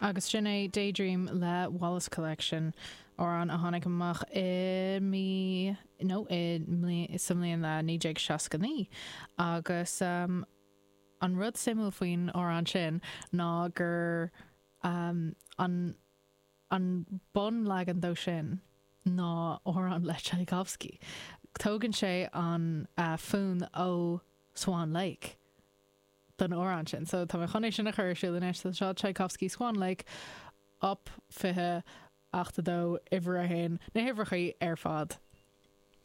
Agus sin é Daydream le Wallace Collection, amhrán a tháinig amach i mí, nó i, sa mbliain 1969. Agus an rud suimiúil faoin amhrán sin ná gur an, an bunleagan dó sin ná amhrán le Tchaikovsky. Tógann sé an fonn ó Swan Lake. don amhrán sin. So tá mé chun é sin a chur ar siúl anois. So seo Tchaikovsky Swan Lake, Op. 20, Acht 2, Uimhir 1, na huimhreachaí ar fad.